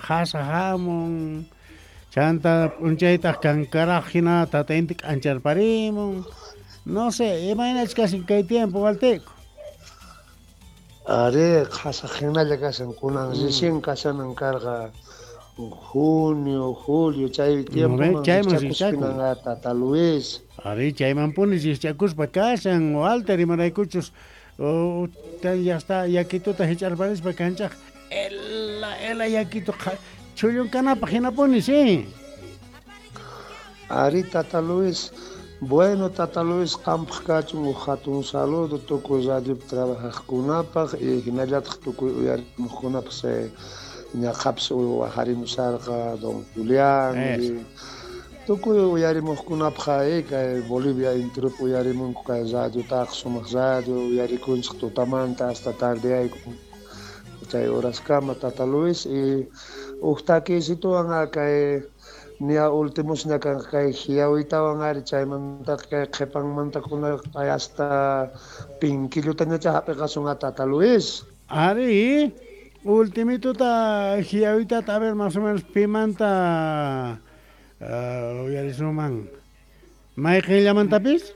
Qhasa hamun. Chanta p'unchaytaq kankaraj hina tata inti k'ancharparimun. No sé, imaynachus kashan kay tiempo, Waltiku? Arí, qhasa hinalla kashan, kunan recién kashanan karqa junio, julio, chay tiempoman chayman rikchakuspinanqa tata Luis. Arí, chaymanpuni rikchakuspa kashan, Walter, imaraykuchus ya está yakituta hich'arparispa kanchaj ela ela yakitu chhullunkanapaj hinapuni, sí. Arí, tata Luis. Bueno, tata Luis, qampaq kachun uj hatun saludo tukuy radiopi trabajaqkunapaq y hinallataq tukuy uyarimuqkunapaq se ñaqhapis wajarimusharqa don Julián y tukuy uyarimuqkunapaq kay Bolivia enteropi uyarimunku kay radiotaqa, sumaq radio uyarikunchik tutamanta hasta tardeayku chay horaskama, tata Luis, y uj takiysituwan kay ña ultimosña kanqa kay hiawitawan ari, chaymantaqa kay qhipanmanta kunanqa hasta pinkillutañacha hap'iqasun tata Luis. Ari, ultimituta hiawitata, a ver, más o menos pimanta uyarisunman. Mayqinllamantapis?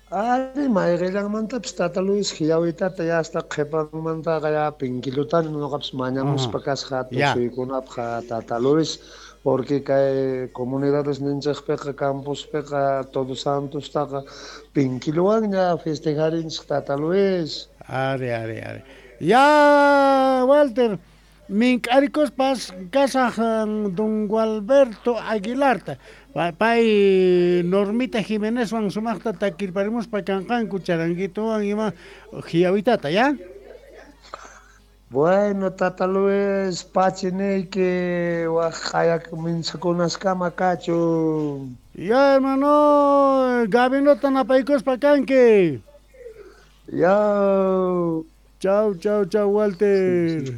Ari, mayqillanmantapis tata Luis hiawitata ya hasta qhipanmantaqa ya pinkillutani noqapis mañamuspa kasqa tusuykunapaq tata Luis, porque kay comunidades ninchikpiqa campospiqa Todos Santostaqa pinkilluwanña festejarinchik tata Luis. Ari, ari, ari. Ya, Walter, mink'arikuspas kasaj don Gualberto Aguilarta. Pay Normita Jimenezwan sumaqta takirparimuspa kanqanku charanguituwan ima hiawitata, ya? Bueno, tata Luis, pachiniyki waj qhayak minsakunaskama kachun. Ya, hermano, Gabinota napaykuspa kanki. Ya. Chau, chau, chau, Walter.